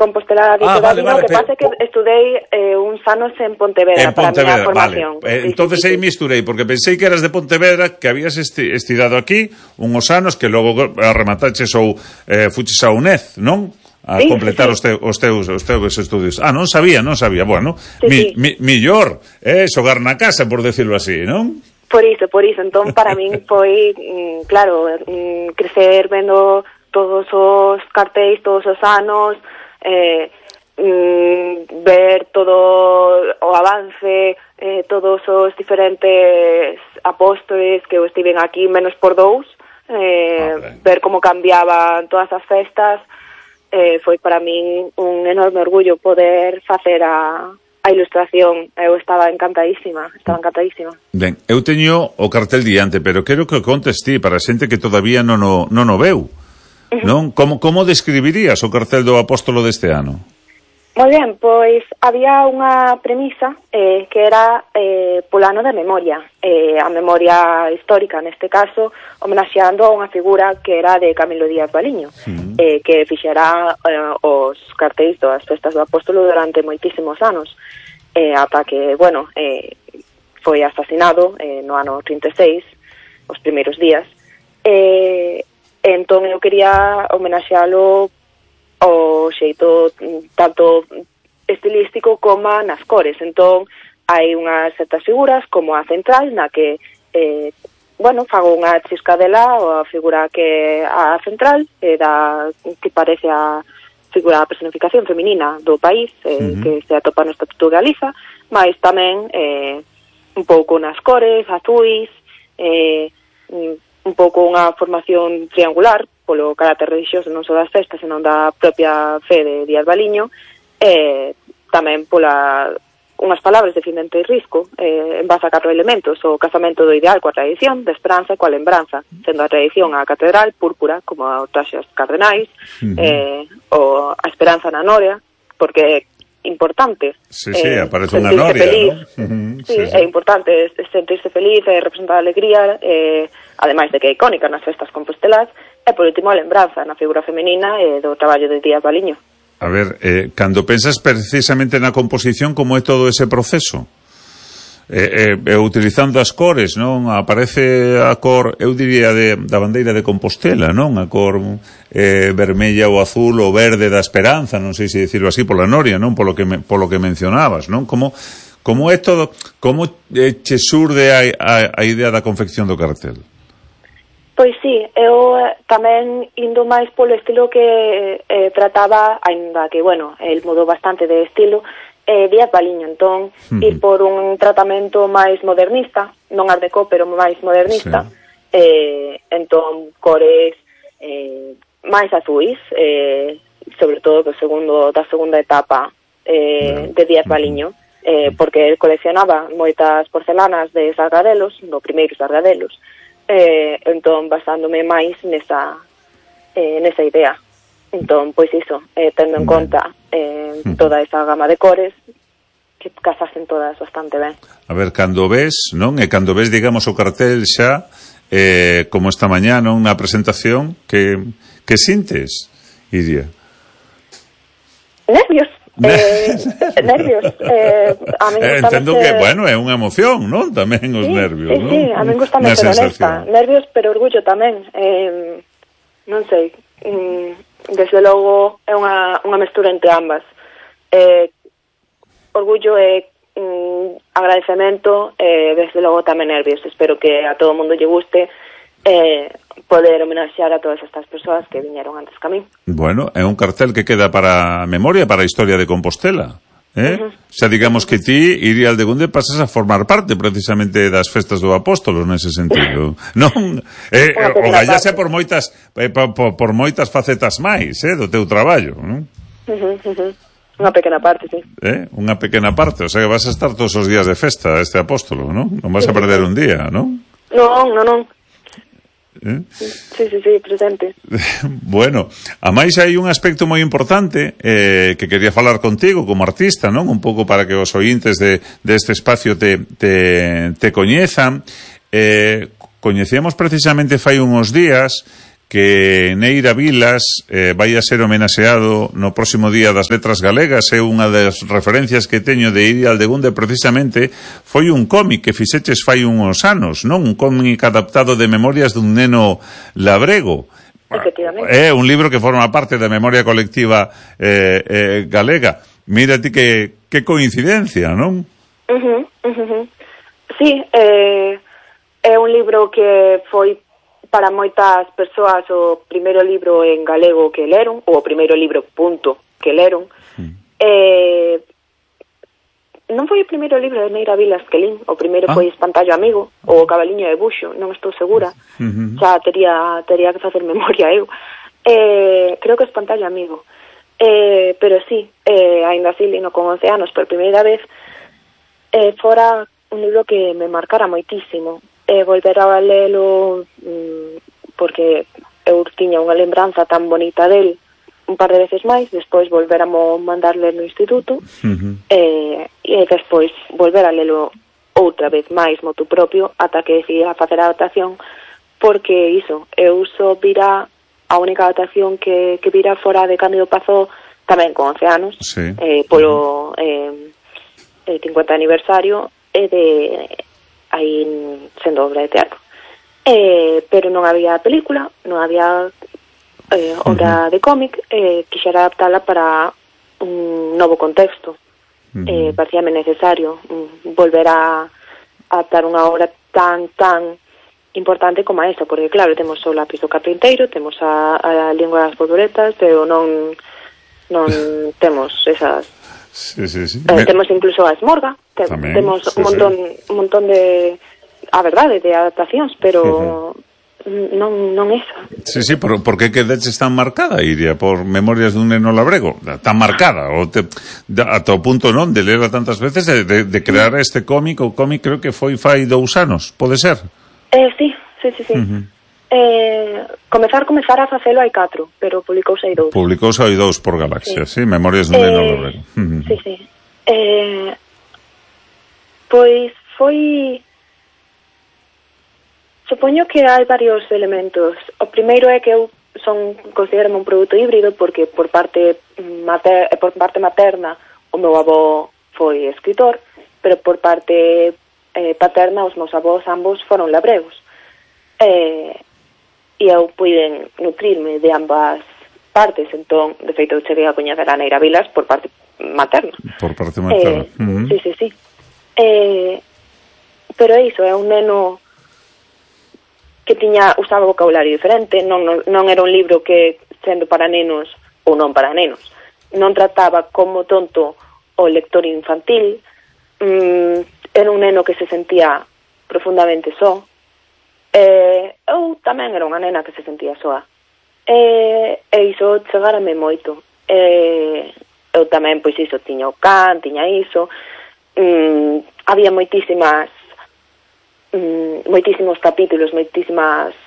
Compostela de Todavino, que pasa que estudei uns anos en Pontevedra para a miña formación. Entonces aí misturei, porque pensei que eras de Pontevedra, que habías estudado aquí uns anos, que logo remataches ou fuches a UNED, non? A completar os teus estudios. Non sabía. Bueno, millor, xogar na casa, por decirlo así, non? Por iso. Entón, para min foi, claro, crecer vendo todos os cartéis, todos os anos, ver todo o avance, todos os diferentes apóstoles que estiven aquí menos por dous, ver como cambiaban todas as festas, foi para min un enorme orgullo poder facer a ilustración. Eu estaba encantadísima. Ben, eu teño o cartel diante, pero quero que o contes ti para a xente que todavía non o veu. Non? Como describirías o cartel do Apóstolo deste ano? Moi ben, pois había unha premisa que era polo ano da memoria, a memoria histórica neste caso, homenaxeando a unha figura que era de Camilo Díaz Baliño, que fixera os cartéis das festas do Apóstolo durante moitísimos anos, ata que, foi asesinado no ano 36, os primeiros días, entón eu quería homenaxealo o xeito tanto estilístico como nas cores. Entón hai unhas certas figuras como a central na que fago unha chiscadela ou a figura que a central que parece a figura da personificación feminina do país, que se atopa no Estatuto de Galiza, mas tamén un pouco nas cores azuis, un pouco unha formación triangular polo carácter religioso non só das festas, senón da propia fe de Díaz Baliño, tamén pola unhas palabras de Findente e Risco, en base a 4 elementos: o casamento do ideal coa tradición, da esperanza e coa lembranza, sendo a tradición a catedral púrpura, como o traxe aos cardenais, ou a esperanza na noria, porque importante aparece unha noria, ¿no? É importante sentirse feliz e representar a alegría, ademais de que é icónica nas festas compostelás, e por último a lembranza na figura femenina e do traballo de Díaz Baliño. A ver, cando pensas precisamente na composición, como é todo ese proceso? Utilizando as cores, non? Aparece a cor, eu diría, da bandeira de Compostela, non? A cor vermella ou azul ou verde da esperanza, non sei se dicirlo así, pola noria, non? Polo que mencionabas, non? Como é todo, como che surde a idea da confección do cartel? Pois sí, eu tamén indo máis polo estilo que trataba, aínda que, el mudou bastante de estilo, Díaz Baliño, entón, ir por un tratamento máis modernista, non art deco, pero máis modernista, entón, cores máis azuis, sobre todo da segunda etapa de Díaz Baliño, porque el coleccionaba moitas porcelanas de Sargadelos, no primeiro Sargadelos, entón, basándome máis nesa idea. Entón, pois iso, tendo en conta toda esa gama de cores, que casasen todas bastante ben. A ver, cando ves, non? E cando ves, digamos, o cartel xa, como esta mañá, non? Na presentación, que sintes, Iria? Nervios. Nervios. A mí entendo que, é unha emoción, non? Tamén os nervios, non? Sí, a mí gustame ser honesta. Nervios, pero orgullo tamén. Non sei, desde logo é unha mestura entre ambas. Orgullo e agradecemento, desde logo tamén nervios. Espero que a todo o mundo lle guste poder homenaxear a todas estas persoas que viñeron antes que a mí. Bueno, é un cartel que queda para a memoria, para a historia de Compostela. Xa digamos que ti, Iria Aldegunde, pasas a formar parte precisamente das festas do Apóstolo nese sentido, non? O gallase por moitas facetas máis do teu traballo, non? Unha pequena parte, sí. Unha pequena parte, o sea que vas a estar todos os días de festa este Apóstolo, non? Non vas a perder un día, non? Non. Sí, presente. Bueno, a máis hai un aspecto moi importante que quería falar contigo como artista, non? Un pouco para que os ointes deste espacio te coñezan. Coñecíamos precisamente fai uns días que Neira Vilas vai a ser homenaxeado no próximo Día das Letras Galegas. É unha das referencias que teño de Iria Aldegunde, precisamente foi un cómic que fixeches fai uns anos, non? Un cómic adaptado de Memorias dun neno labrego. É un libro que forma parte da memoria colectiva galega. Mira ti que coincidencia, non? Sí, é un libro que foi para moitas persoas o primeiro libro en galego que leron, ou o primeiro libro, punto, que leron. Non foi o primeiro libro de Neira Vilas que lín, o primeiro foi Espantallo Amigo, ou O Cabaliño de Buxo, non estou segura, xa tería que facer memoria eu. Creo que Espantallo Amigo. Pero sí, ainda así lino con 11 anos por primeira vez, fora un libro que me marcara moitísimo. Volver a lelo porque eu tiña unha lembranza tan bonita del un par de veces máis, despois volver a mandar ler no instituto e despois volver a lelo outra vez máis motu propio ata que decidí a facer a adaptación, porque iso, eu só vira a única adaptación que vira fora de Cándido Pazó tamén con 11 anos, polo 50 aniversario de aí sendo obra de teatro, pero non había película, non había obra de cómic, quixera adaptala para un novo contexto. Parecíame necesario volver a adaptar unha obra tan importante como esa, porque claro, temos o Lápiz do Carpinteiro, temos a Lingua das Borboletas, pero non temos esas. Sí. Temos incluso a Esmorga, temos un montón de, a verdade, de adaptacións, pero non esa. Sí, por que quedeches tan marcada, Iria, por Memorias dun neno labrego? Tan marcada, ata o punto non de lerla tantas veces, de crear este cómic, o cómic creo que foi fai 2 anos, pode ser? Sí. Comezar a facelo hai 4, pero publicouse hai 2. Publicouse hai 2 por Galaxia, sí, Memorias dun neno labrego. Sí. Pois foi... Supoño que hai varios elementos. O primeiro é que eu considero un produto híbrido, porque por parte materna o meu avó foi escritor, pero por parte paterna os meus avós ambos foron labregos. E eu puiden nutrirme de ambas partes, entón, de feito, cheguei a coñecer a Neira Vilas por parte materna. Por parte materna. Sí. Pero é iso, é un neno que usaba vocabulario diferente, non era un libro que, sendo para nenos ou non para nenos, non trataba como tonto o lector infantil, era un neno que se sentía profundamente só. Eu tamén era unha nena que se sentía soa, e iso chegárame moito. Eu tamén, pois iso, tiña o can, tiña iso, había moitísimos capítulos, moitísimas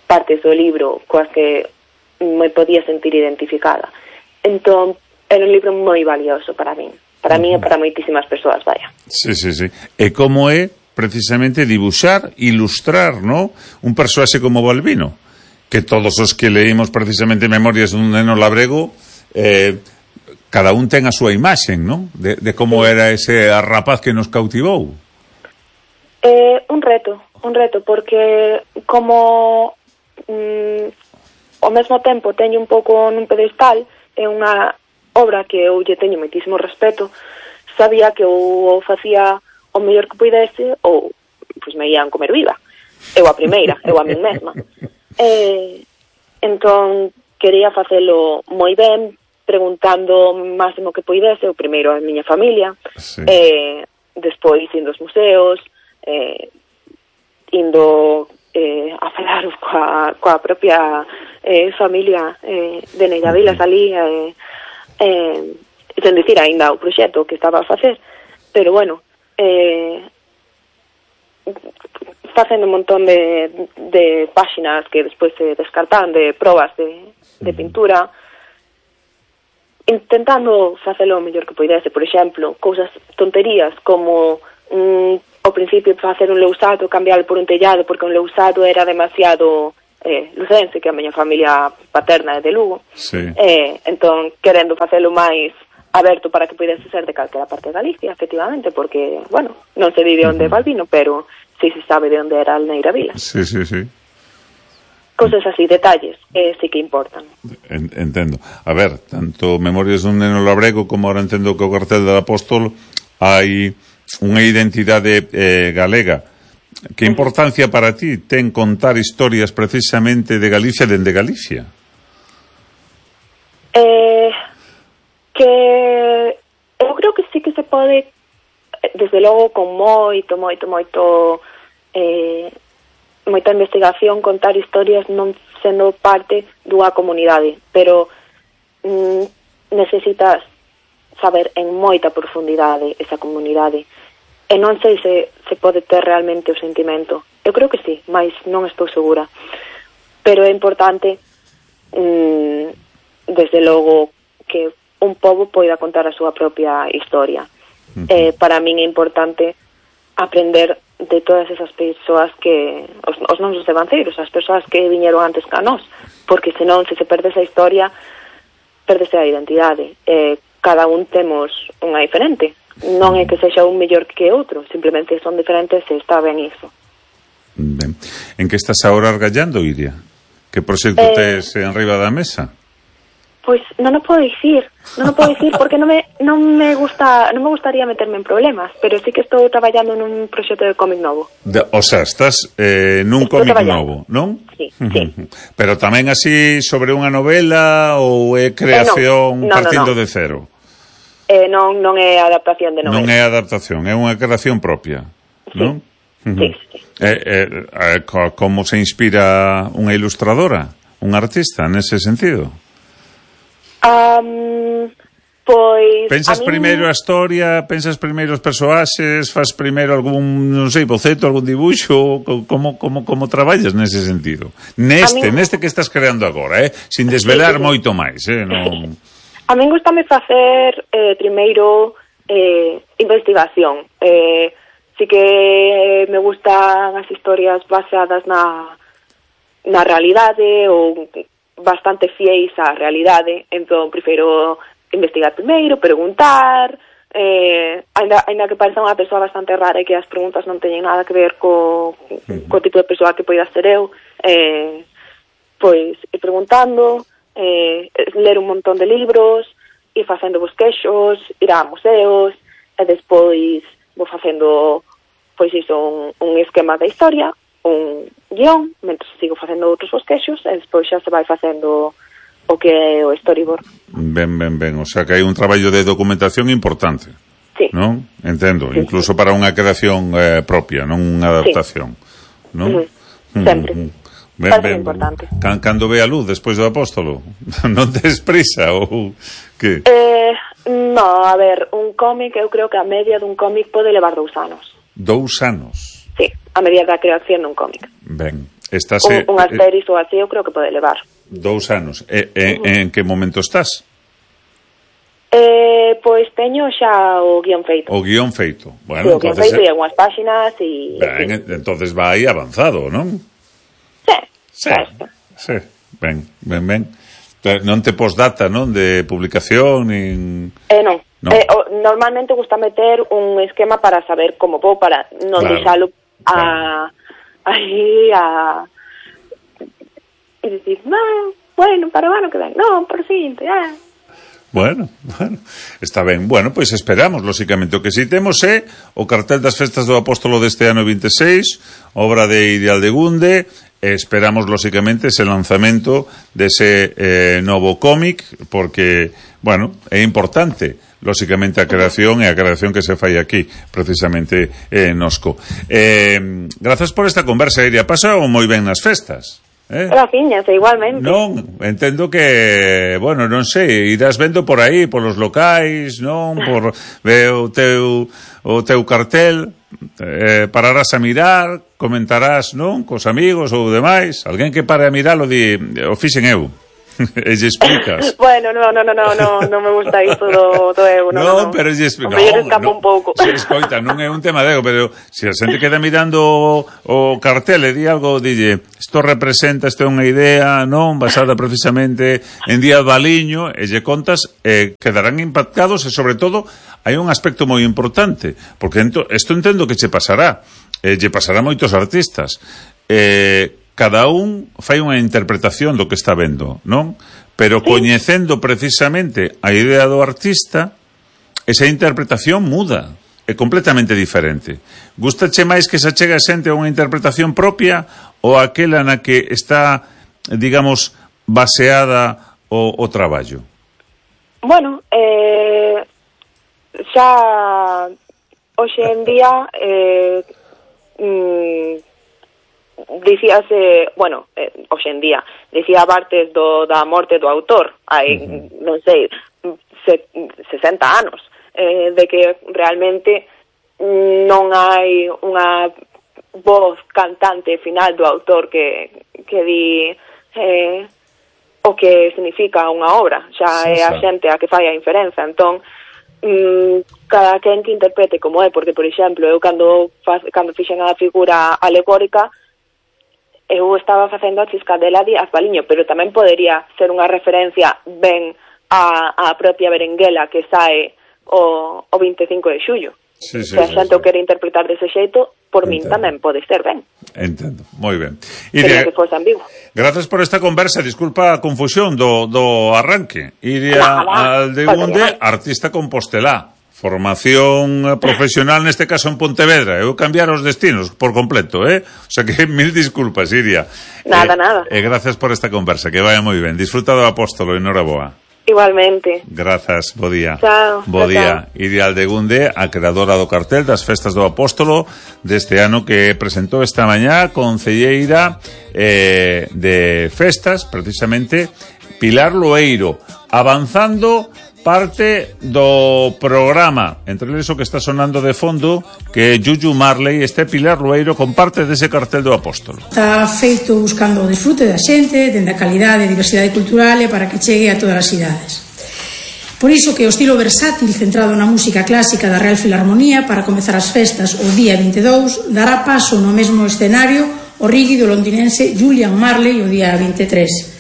partes do libro coas que me podía sentir identificada. Entón, era un libro moi valioso para min e para moitísimas persoas, vaya. Sí. E como é precisamente dibuxar, ilustrar, ¿no? Un persoaxe como Balbino, que todos os que leímos precisamente Memorias dun neno labrego, cada un ten a súa imaxen, ¿no? De como era ese rapaz que nos cautivou. Un reto, porque como ao mesmo tempo teño un pouco nun pedestal, é unha obra que eu lle teño moitísimo respeto, sabía que eu facía o mellor que puidese ou pois me ian comer viva, eu a primeira, eu a min mesma. Entón quería facelo moi ben, preguntando o máximo que puidese, o primeiro a miña familia, despois indo aos museos, indo a falar coa propia familia de Neira Vilas ali, sen dicir ainda o proxecto que estaba a facer, pero bueno, facendo un montón de páxinas que despois se descartan, de probas de pintura, intentando facelo o mellor que poidese. Por exemplo, cousas tonterías como ao principio facer un lousado, cambiarlo por un tellado, porque un lousado era demasiado lucense, que a miña familia paterna é de Lugo. Sí. Entón, querendo facelo máis aberto para que pudese ser de calquera parte de Galicia, efectivamente, porque, bueno, non se di de onde é Balbino, pero sí se sabe de onde era Alneira Vila. Sí, sí, sí. Cosas así, detalles, sí que importan. Entendo. A ver, tanto Memorias dun neno labrego como ahora entendo que o cartel del Apóstol hai unha identidade galega. Que importancia para ti ten contar historias precisamente de Galicia dende Galicia? Que eu creo que sí que se pode, desde logo, con moita investigación, contar historias non sendo parte dunha comunidade, pero necesitas saber en moita profundidade esa comunidade, e non sei se pode ter realmente o sentimento. Eu creo que sí, mas non estou segura, pero é importante desde logo que un pobo poida contar a súa propia historia. Para min é importante aprender de todas esas persoas que os nosos devanceiros, as persoas que viñeron antes que a nós, porque senón, se perde esa historia, perdese a identidade. Cada un temos unha diferente, non é que sexa un mellor que outro, simplemente son diferentes e está ben iso. Ben. En que estás agora argallando, Iria? Que proxecto tes en riba da mesa? Pois non o podo dicir porque non me gustaría meterme en problemas, pero sí que estou traballando nun proxecto de cómic novo. O sea, estás nun cómic novo, non? Sí, sí. Pero tamén así sobre unha novela ou é creación partindo de cero? Non é adaptación de novela. Non é adaptación, é unha creación propia, non? Sí. Como se inspira unha ilustradora, un artista nese sentido? Pois pensas primeiro a historia, pensas primeiro os persoaxes, faz primeiro algún, non sei, boceto, algún dibuixo, como traballas nese sentido? Neste que estás creando agora, sin desvelar moito máis, non. A min gustame facer primeiro investigación. Sí que me gustan as historias baseadas na realidade ou bastante fieis á realidade, entón prefiro investigar primeiro, preguntar, ainda que pareza unha persoa bastante rara e que as preguntas non teñen nada que ver co tipo de persoa que poida ser eu, pois ir preguntando, ler un montón de libros, ir facendo bosquexos, ir a museos, e despois vou facendo pois iso, un esquema da historia, un guión, mentre sigo facendo outros bosquexos, e despois xa se vai facendo o que é o storyboard. Ben, o sea que hai un traballo de documentación importante. Sí. Non? Entendo, sí, incluso para unha creación propia, non unha adaptación. Sí. Non? Sempre. Ben, importante. Cando ve a luz despois do Apóstolo? Non tes prisa ou que? No, a ver, un cómic, eu creo que a media dun cómic pode levar 2 anos. 2 anos? Sí, a media da creación dun cómic. Ben, unhas series ou así eu creo que pode levar 2 anos. En que momento estás? Pois teño xa o guión feito. O guión feito. Bueno, sí, o guión feito e algunhas páxinas e... Ben, entonces vai avanzado, non? Sí. Ben. Non te posdata, non? De publicación, nin... Non. Normalmente gusta meter un esquema para saber como vou, para non deixalo aí e dicir, bueno, para o ano que ven, non, por seguinte, Bueno, está ben. Bueno, pois esperamos, lóxicamente. O que si temos é o cartel das festas do Apóstolo deste ano 26, obra de Iria Aldegunde, e esperamos, lóxicamente, ese lanzamento dese novo cómic, porque, bueno, é importante, lóxicamente, a creación e a creación que se fai aquí, precisamente, nosco. Grazas por esta conversa, Iria. Pasao moi ben nas festas. Graciñas, igualmente. Non, entendo que, bueno, non sei, irás vendo por aí, polos locais, non? Por ver o teu cartel, pararás a mirar, comentarás, non? Cos amigos ou demais, alguén que pare a miralo di, o fixen eu. E lle explicas. Bueno, non me gusta isto do ego, non. Pero lle explicas. Non, escapa un pouco. Se escoita, non é un tema de ego, pero se a xente queda mirando o cartel e di algo, dille, isto representa, isto é unha idea, non, basada precisamente en Díaz Baliño, e lle contas, quedarán impactados e, sobre todo, hai un aspecto moi importante, porque isto entendo que che pasará, lle pasará a moitos artistas. Cada un fai unha interpretación do que está vendo, non? Pero coñecendo precisamente a idea do artista, esa interpretación muda, é completamente diferente. Gustache máis que se achega a xente a unha interpretación propia ou aquela na que está, digamos, baseada o traballo? Bueno, xa hoxe en día dicíase, bueno, hoxe en día dicía Bartes da morte do autor hai, non sei, 60 anos de que realmente non hai unha voz cantante final do autor que di o que significa unha obra, xa é a xente a que fai a inferenza. Entón cada quen que interprete como é, porque, por exemplo, eu cando fixen a figura alegórica, eu estaba facendo a Chiscadela Díaz Baliño, pero tamén podería ser unha referencia ben a propia berenguela que sae o 25 de xullo. Se a xente o quere interpretar dese xeito, por min tamén pode ser ben. Entendo, moi ben. Quería que fose ambiguo. Gracias por esta conversa, disculpa a confusión do arranque. Iria Aldegunde, artista compostelá. Formación profesional, neste caso en Pontevedra. Eu cambiar os destinos por completo, O sea que mil disculpas, Iria. Nada. E gracias por esta conversa, que vaya moi ben. Disfruta do Apóstolo, enhoraboa. Igualmente. Grazas, bo día. Chao. Bo día. Iria Aldegunde, a creadora do cartel das Festas do Apóstolo deste ano que presentou esta mañá, concelleira de festas, precisamente Pilar Loeiro, avanzando parte do programa, entre eles o que está sonando de fondo, que Yuyu Marley, Pilar Loeiro, con parte dese cartel do Apóstolo. Está feito buscando o disfrute da xente, dende a calidade e diversidade cultural e para que chegue a todas as idades. Por iso que o estilo versátil centrado na música clásica da Real Filarmonía para comezar as festas o día 22 dará paso no mesmo escenario o rígido londinense Julian Marley o día 23.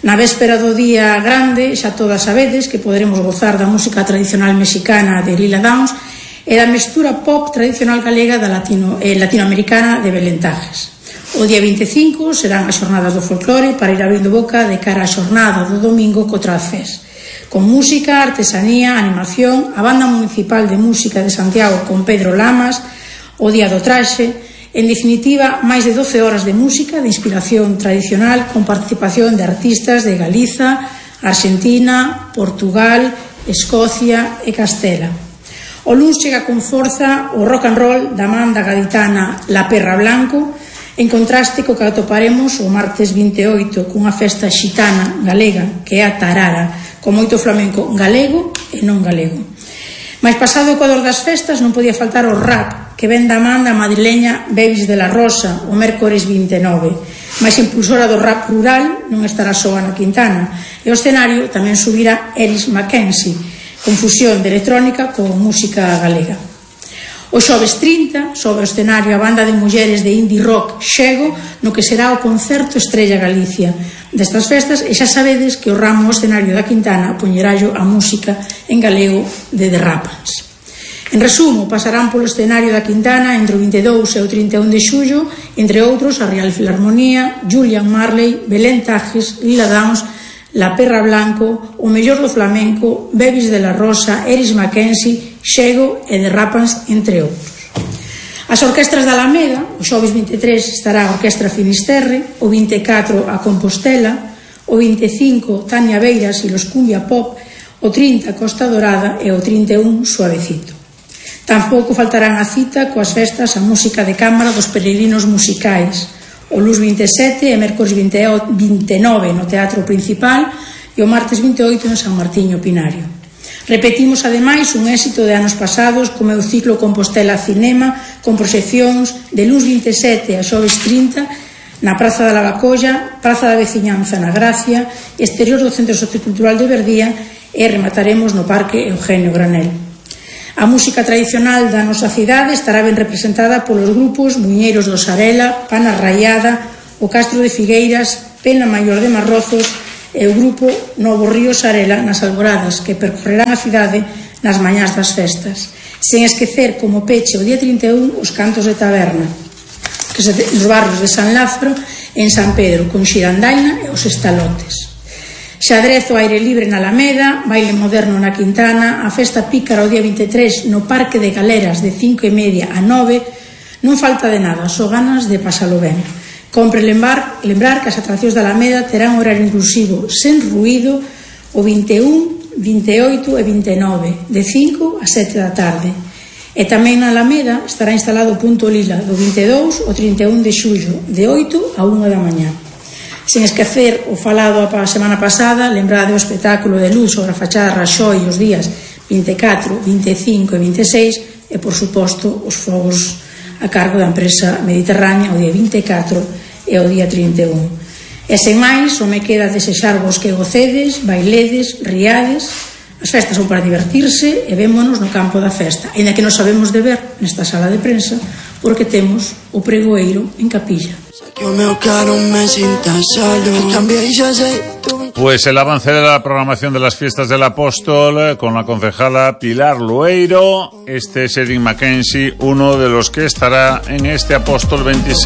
Na véspera do día grande, xa todas sabedes que poderemos gozar da música tradicional mexicana de Lila Downs e da mestura pop tradicional galega da latinoamericana de Belén Tajes. O día 25 serán as xornadas do folclore para ir abrindo boca de cara á xornada do domingo co Trazfest, con música, artesanía, animación, a Banda Municipal de Música de Santiago con Pedro Lamas, o Día do Traxe. En definitiva, máis de 12 horas de música de inspiración tradicional con participación de artistas de Galiza, Argentina, Portugal, Escocia e Castela. O luns chega con forza o rock and roll da banda gaditana La Perra Blanco, en contraste co que atoparemos o martes 28 cunha festa xitana galega que é a Tarara, con moito flamenco galego e non galego. Mais pasado o ecuador das festas non podía faltar o rap que ven da man da madrileña Bebis de la Rosa o mércores 29. Mais impulsora do rap rural non estará só Ana Quintana, e o escenario tamén subirá Eris Mackenzie, con fusión de electrónica con música galega. O xoves 30 sobre o escenario a banda de mulleres de indie rock Xego, no que será o concerto Estrella Galicia destas festas, e xa sabedes que o ramo escenario da Quintana poñerallo a música en galego de The Rapans. En resumo, pasarán polo escenario da Quintana entre o 22 e o 31 de xullo, entre outros, a Real Filarmonía, Julian Marley, Belén Tajes, Lila Downs, La Perra Blanco, o mellor do flamenco, Bebis de la Rosa, Eris Mackenzie, Xego e The Rapans, entre outros. As orquestras da Alameda, o xoves 23 estará a Orquestra Finisterre, o 24 a Compostela, o 25 Tania Beiras e los Cumbia Pop, o 30 Costa Dorada e o 31 Suavecito. Tampouco faltarán a cita coas festas a música de cámara dos peregrinos musicais, o luns 27 e mércores 29 no Teatro Principal e o martes 28 no San Martiño Pinario. Repetimos ademais un éxito de anos pasados como o ciclo Compostela Cinema con proxeccións de luns 27 a xoves 30 na Praza da Lavacolla, Praza da Veciñanza na Gracia, exterior do Centro Sociocultural de Verdía e remataremos no Parque Eugenio Granel. A música tradicional da nosa cidade estará ben representada polos grupos Muñeiros do Sarela, Pana Raiada, o Castro de Figueiras, Pena Maior de Marrozos e o grupo Novo Río Sarela nas alboradas que percorrerán a cidade nas mañás das festas. Sen esquecer como peche o día 31 os cantos de taberna que se nos barrios de San Lázaro e en San Pedro, con xirandaina e os estalotes. Xadrez ao aire libre na Alameda, baile moderno na Quintana, a festa pícara o día 23 no Parque de Galeras de 5:30 a 9, non falta de nada, só ganas de pasalo ben. Compre lembrar que as atraccións da Alameda terán horario inclusivo sen ruído o 21, 28 e 29, de 5 a 7 da tarde. E tamén na Alameda estará instalado o punto lila do 22 ao 31 de xullo, de 8 a 1 da mañá. Sen esquecer o falado a semana pasada, lembrade o espectáculo de luz sobre a fachada Raxoi os días 24, 25 e 26 e, por suposto, os fogos a cargo da empresa Mediterránea o día 24 e o día 31. E sen máis, só me queda desexarvos que gocedes, bailedes, riades. As festas son para divertirse e vémonos no campo da festa, ainda que non sabemos de ver nesta sala de prensa porque temos o pregoeiro en capilla. Pues el avance de la programación de las fiestas del Apóstol con la concejala Pilar Loeiro. Este es Erin Mackenzie, uno de los que estará en este Apóstol 26.